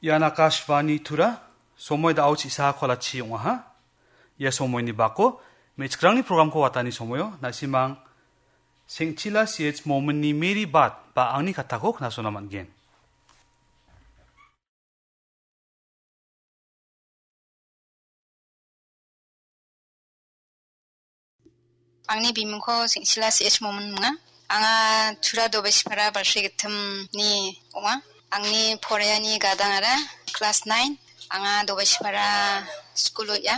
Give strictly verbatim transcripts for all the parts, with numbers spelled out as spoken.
Ian Akashvani Tura, somoi da·o chisa kolachi ong·aha. Ia somoini bako, me·chikrangni programko watani somoio, na·simang Sengchila C H Mominni Mary Bat ba angni katako knasona man·gen. Angni bimingko Sengchila C H Momin minga. Anga Tura Dobesipara Balsri Gittimni ong·a. Angni poraiani gadangara class nine. Anga Dobesipara skul o·a.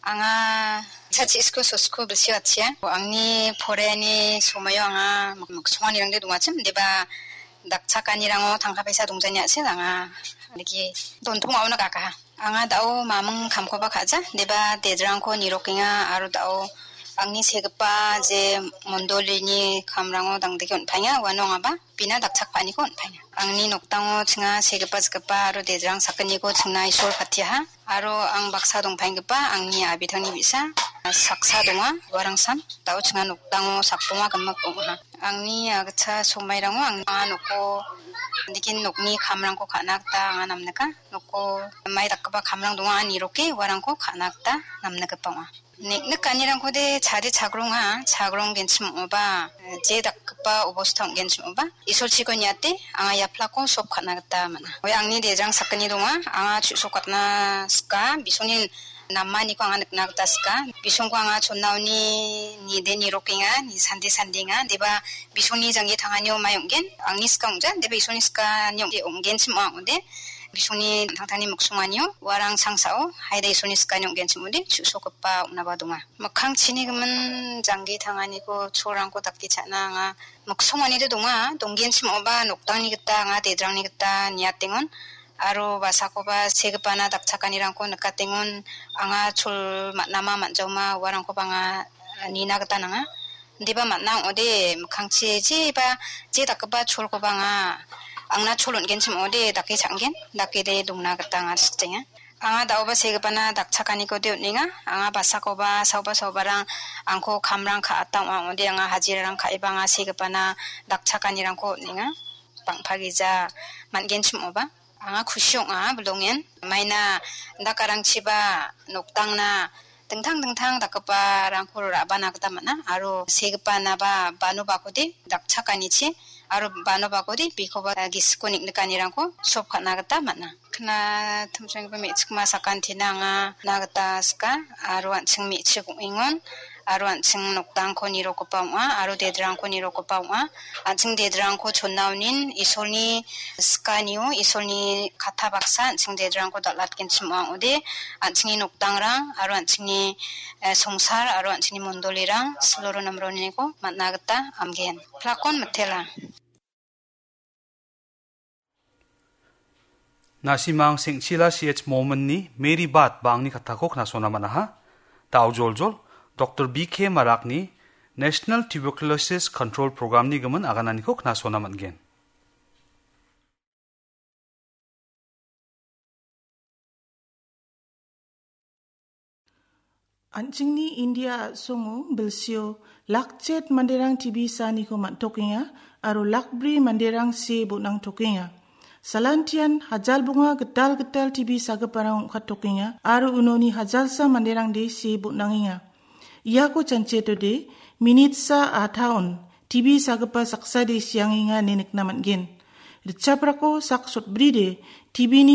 Anga chachi skul so skul bilsi watchia. Angni poraiani somoio anga mik-, miksonganirangde dongachim. Deba dakchakanirango tangka paisa dongjani ase anga. Niki dontong auna kakaha. Anga da·o maming kamkoba ka·ja, deba dedrangko nirokenga aro da·o angni segipa je mondolini kamrango dangdike on·paenga, uano angaba bina dakchakpaniko on·paenga. Angni nokdango chinga segipa jikgipa aro dedrang sakgniko chingna Isol patiaha. Aro ang baksa dongpaenggipa angni abitangni bi·sa saksa donga, uarangsan da·o chinga nokdango sakbonga gimik ong·aha. Angni agitcha somairango ang-, anga noko, nikin nokni kamrangko ka·na gita anga namnika. Noko mai dakgipa kamrang donga, anga niroke uarangko ka·na gita namnikgipa ong·a. Nik-, nikanirangkode chade chagronga, chagronggenchim ong·oba, je dakgipa obosta ong·genchim ong·oba, Isolchiko niate anga ia plako sop ka·na gita man·a. Oe angni dedrang sakgni donga, anga chu·sokatna sika, bisongni namaniko anga nikna gita sika. Bisongko anga chonnaoni nide nirokenga, ni sande sandenga. Deba bisongni janggi tanganio mai ong·gen, angni sika ong·ja, deba Isolni sikani ong·, ong·genchim ong·a ong·ode. Bisongni tangtangni miksonganio, uarang sangsao, haida Isolni sikani ong·genchim ong·ode, chu·sokgipa ong·naba donga. Mikkang chini gimin janggi tanganiko cholrangko dake cha·na anga miksonganide donga, donggenchim ong·oba nokdangni gita anga dedrangni gita niatengon. Aro basakoba segipana dakchakanirangko nikatengon, anga chol man·ama man·jaoma uarangkoba anga nina gita nanga. Indiba man·a ong·ode, mikkangchi jeba, je dakgipa cholkoba anga, angna chol on·genchim ong·ode, dake cha·angen, dakede dongna gita anga sikjenga. Anga da·oba segipana dakchakaniko de on·enga. Anga basakoba, saoba saobarang angko kamrang ka·ata ong·a ong·ode, anga hajirarang ka·eba anga segipana dakchakanirangko on·enga. Bang·pa gija man·genchim ong·oba. Anga kusi ong·a, bilongen. Maina dakarangchiba nokdangna dingtang dingtang dakgiparangko ra·bana gita man·a. Aro segipanaba bano bakode dakchakanichi, aro bano bakode bikoba gisiko nik·nikanirangko sop ka·na gita man·a. Kna timchenggipa me·chikma sakantina anga na gita sika, aro an·ching me·chik ong·engon, aro an·ching nokdangko nirokgipa ong·a, aro dedrangko nirokgipa ong·a. An·ching dedrangko chonna onin Isolni sikanio, Isolni katta baksa an·ching dedrangko dal·atgenchim ong·a ong·ode, an·chingni nokdangrang aro an·chingni, eh, songsar aro an·chingni mondolirang siloro namroniko man·a gita amgen. Plakon mitela. Na·simang Sengchila C H Mominni Mary Bat ba angni katako knasona man·aha. Da·o joljol, Doktor B K Marakni National Tuberculosis Control Programni gimin agananiko knasona man·gen. An·chingni India a·songo bilsio lakchet manderang T B saaniko man·tokenga aro lakbri manderang see bon·angtokenga. Salantian hajal bonga gital gital T B sagiparang ong·kattokenga aro unoni hajalsa manderangde see bon·angenga. Iako chanchiatode, minitsa a taon T B sagipa saksade siangenga ine nikna man·gen. Ritchaprako sak sotbride T B-ni